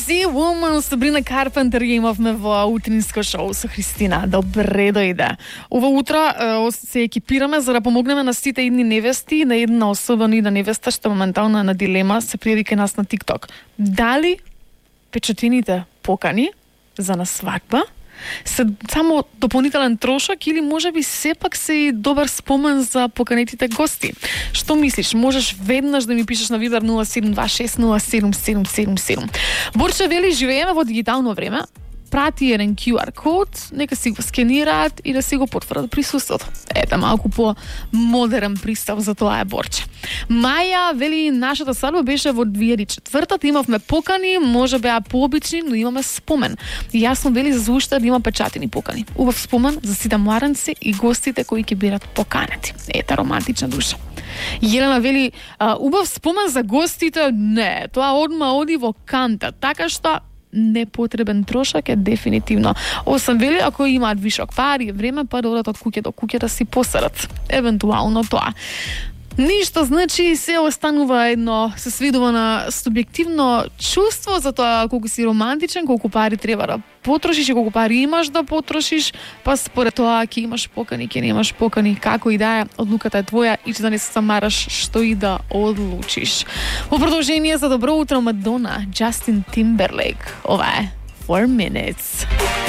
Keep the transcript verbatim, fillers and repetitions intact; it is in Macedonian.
Crazy Woman, Sabrina Carpenter ја имавме во утринско шоу со Христина. Добре дојде. Ова утро е, се екипираме за да помогнеме на сите идни невести, на една особено идна невеста што моментално е на дилема, се пријави кај нас на TikTok. Дали печатените покани за на свадба се само дополнителен трошок или можеби сепак се и добар спомен за поканетите гости? Што мислиш? Можеш веднаш да ми пишеш на Viber нула седум два шест нула седум седум седум седум. Борче вели, живееме во дигитално време. Прати еден кју ар код, нека си го скенираат и да си го потврдат присуството. Ете, малку по-модерен пристав за тоа е Борче. Маја вели, нашата свадба беше во две илјади и четвртата, имавме покани, може беа пообични, но имаме спомен. И јасно вели за уште да има печатени покани. Убав спомен за сите младенци и гостите кои ќе бидат поканети. Ете, романтична душа. Јелена вели, убав спомен за гостите, не, тоа одма оди во канта, така што непотребен трошак е дефинитивно. Осам вели, ако имаат вишок пари и време, па да одат од куќе до куќе да си посерат. Евентуално тоа. Ништо, значи, се останува едно, се сведува на субјективно чувство за тоа колку си романтичен, колку пари треба да потрошиш и колку пари имаш да потрошиш, па според тоа ќе имаш покани, ќе немаш покани, како и да е, одлуката е твоја и че да не се самараш што и да одлучиш. Во продолжение за добро утро Мадона, Джастин Тимберлейк. Ова е four minutes.